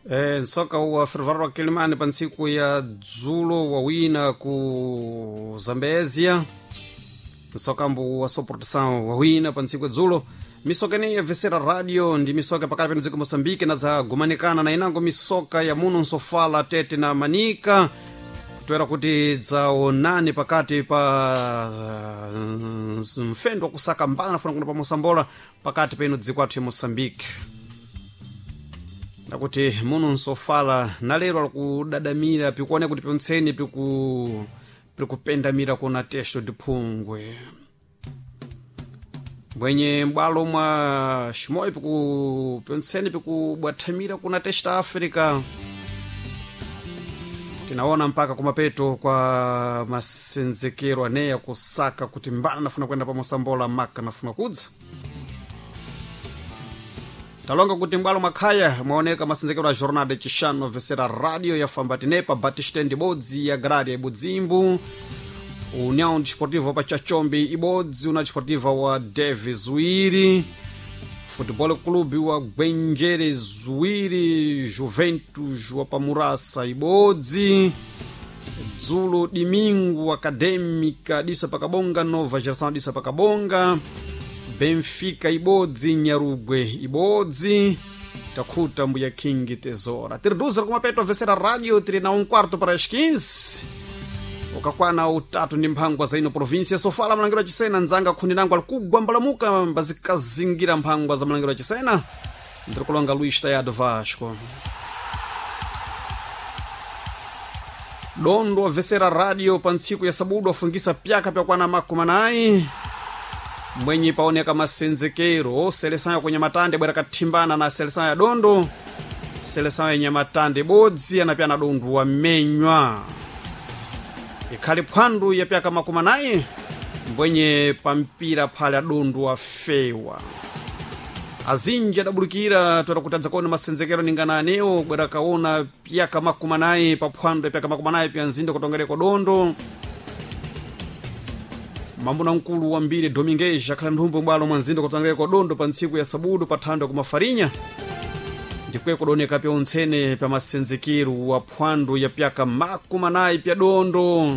Nsoka wa Ferroviário wa Quelimane pa ntsiku ya dzulo wawina ku Zambezia. Nsokambo wa Soportação wawina pa ntsiku ya dzulo. Misoka ineyi yabvesera radio ndi misoka pakati peno dziko Moçambique na dzagumanikana na inango misoka ya muno nsofala Tete na Manika, toera kuti dzaonane pakati pa mfendo wa kusaka mbala nafuna kuno pa Mosambola pakati peno dziko athu ya Moçambique. Ndakuti muno nsofala na lero alikudadamira pikuoneka kuti piontseni pikupendamira kuna texto diphungwe mbwenye m'bwalo mwa ximoyo pikupyontseni pikubwathamira kuna testa Africa. Tinaona mpaka kumapeto kwa masenzekero aneya kusaka kuti mbana nafuna kuenda pa Mosambola maka nafuna kudza. Talonga kuti m'bwalo mwakhaya mwaoneka masenzekero a jornada chixano vesera radio ya fambatinepa Batistende ibodzi ya Graria ibudzimbu, União Desportiva pa Chachombe ibodzi, União Desportiva wa Deve Zuiri, Futebol Clube wa Gwenjere Zuiri, Juventus wa Pamurasa ibodzi. Dzulo Domingo Acadêmica disa pakabonga, Nova Geração disa pakabonga, Benfica ibodzi, Nyarugwe ibodzi. Takhuta mbuya King Tesoura. Tiri duza kumapeto vesera radio tiri na 14:45 ukakwana utatu ndi mphangwa za ino província sofala malangiro achisena. Nzanga khundi nangu alikugwa mbalamuka mbazikazingira mphangwa za malangiro achisena. Ndiri kulonga Luís Tayado Vasco dondo wavesera radio pa ntsiku ya sabudu afungisa pyaka pyakwana 40 mwenye paoneka masenzekero seleção ya kunyamatande bwera kathimbana na seleção ya dondo. Seleção ya nyamatande bodzi anapyana dondo wamenywa ikhali phwandu ya pyaka 40 mbwenye pampira phale adundu afewa. Azinji adabulukira toera kutadza kuona masenzekero ningana anewo bwera kaona pyaka 40 pa phwandu ya pyaka 40 pya nzinda kutongereko dondo. Mambuna mkulu wa mbiri Domingues akhala nthumbo bwalo mwa nzinda kutongereko dondo pa ntsiku ya sabudu pa thando kumafarinya ndikwe kudoneka pyontsene pya masenzekero wa phwandu ya pyaka 40 pya dondo.